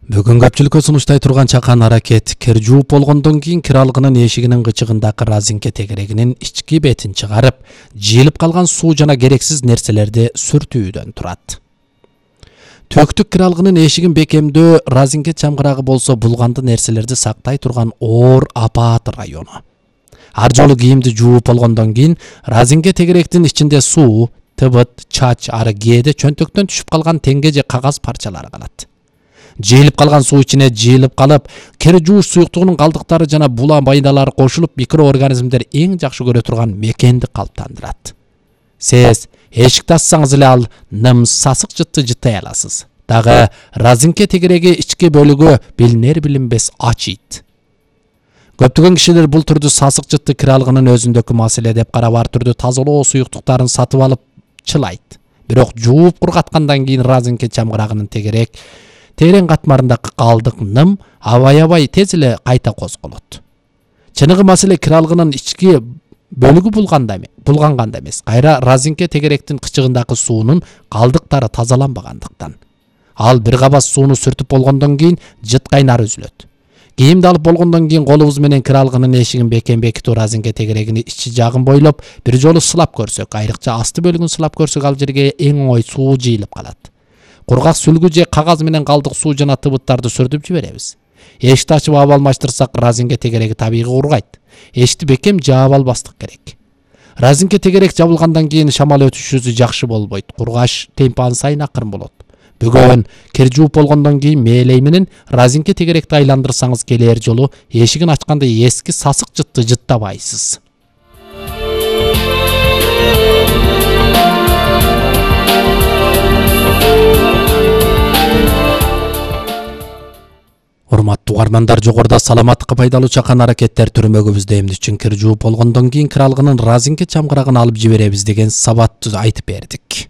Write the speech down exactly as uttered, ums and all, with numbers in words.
Бүгүн көпчүлүккө сунуштай турган чакан аракет кир жууп болгондон кийин кир алгынын эшигинин кычыгындагы разинке тегерегинин ички бетин чыгарып, жыйылып калган суу жана керексиз нерселерди сүртүүдөн турат. Төктүк кир алгынын эшигин бекемдөө разинке чамгырагы болсо булганды нерселерди сактай турган оор апаат району. Ар жолу кийимди жууп болгондон кийин разинке тегеректин ичинде суу, тыбыт, чач, ары кээде чөнтөктөн түшүп калган теңге же кагаз парчалары калат. Жыйылып калган суу ичине жыйылып калып, кир жууш суюктугунун калдыктары жана була майдалары кошулуп, микроорганизмдер эң жакшы көрө турган мекенди калыптандырат. Сиз эшикти ачсаңыз эле ал ным сасык жытты жыттай аласыз. Дагы разинке тегереги ички бөлүгү билинер билинбес ачыйт. Көптөгөн кишилер бул түрдүү сасык жытты кир алгынын өзүндөгү маселе деп карап, ар түрдүү тазалоо суюктуктарын сатып алып чылайт. Бирок жууп кургаткандан кийин разинке чамгырагынын тегерек терең катмарындагы калдык ным абай-абай тез эле кайта козголот. Чыныгы маселе кир алгынын ички бөлүгү булганда булганганда эмес, кайра разинке тегеректин кычыгындагы суунун калдыктары тазаланбагандыктан. Ал бир кабас сууну сүртүп болгондон кийин жыт кайнары үзүлөт. Кийимди алып болгондон кийин колубуз менен кир алгынын эшигин бекем бекитүү разинке тегерегини ичи жагын бойлоп бир жолу сылап көрсөк, айрыкча асты бөлүгүн сылап көрсөк, ал жерге эң оңой суу жыйылып калат. Кургак сүлгү же кагаз менен калдык суу жана тыбыттарды сүртүп жиберебиз. Эшикти ачып ап алмаштырсак, разинке тегереги табигый кургайт. Эшикти бекем жаап албастык керек. Разинке тегерек жабылгандан кийин шамал өтүшүсү жакшы болбойт. Кургаш темпи сайын акырын болот. Бүгүн кир жууп болгондон кийин мээлей менен разинке тегеректи айландырсаңыз, келер жолу эшигин ачканда эски сасык жытты жыттабайсыз. Урматтуу угармандар, жогоруда саламаттыкка пайдалуу чакан аракеттер түрмөгүбүздө эмне үчүн кир жууп болгондон кийин кир алгынын разинке чамгырагын алып жиберебиз деген сабатты айтып бердик.